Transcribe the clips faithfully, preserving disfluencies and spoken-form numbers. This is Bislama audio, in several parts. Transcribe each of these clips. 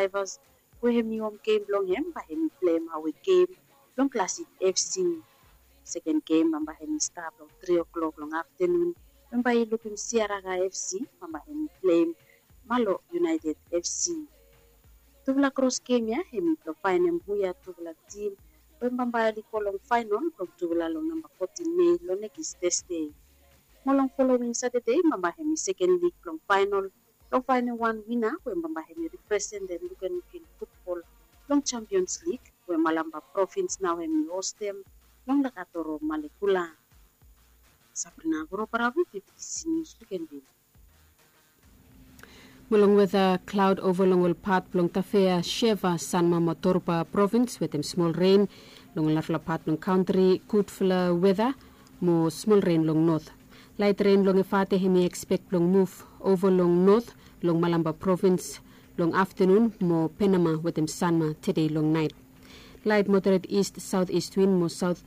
Drivers we hemi hom gem blong hem bae hemi pleim awe gem blong Classic F C. Seken gem bambae hemi stap long tri o'klok long aftenun, bambae i lukim Siaraga F C bambae hemi pleim Malo United F C. Tufala kros gem ya hemi blong faenem huia tufala tim we bambae oli go long faenol blong tufala long namba fotin Mei long nekis Tesde. Mo long folowing Satade bambae hemi seken lik blong faenol blong faenem wan wina we bambae hemi representem lukenluken futbol long Champions League we Malampa Provins nao hemi hostem long Lakatoro, Malekula. Sabrina Goro Parawi, B B C News, Lukenville. Mo long weta, klaod ova long ol pat blong Tafea, Sheva, Sanma mo Torba Provins wetem smol ren. Long ol narafala pat blong kantri gudfala weta mo smol ren long not. Laet ren long Efate hemi ekspek blong muv ova long not long Malampa Provins long aftenun mo Penama wetem Sanma tede long naet. Laet moderet ist saot ist win mo saot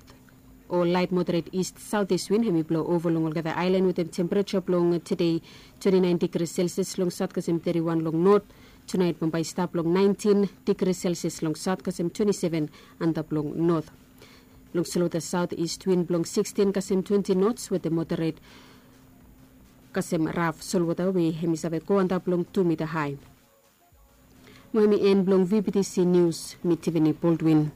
o laet moderet ist saot ist win hemi blo ova long olgeta aelan wetem tempereja blong tede twenti naen digri Celsius long saot kasem teti wan long not. Tunaet bambae i stap long naentin digri Celsius long saot kasem twenti seven antap long not. Long solwota saot ist win blong sikstin kasem twenti nots wetem moderet kasem raf solwota we hemi save go antap long tu mita hae. Mo hemi en blong V B T C News, mi Tiffany Baldwin.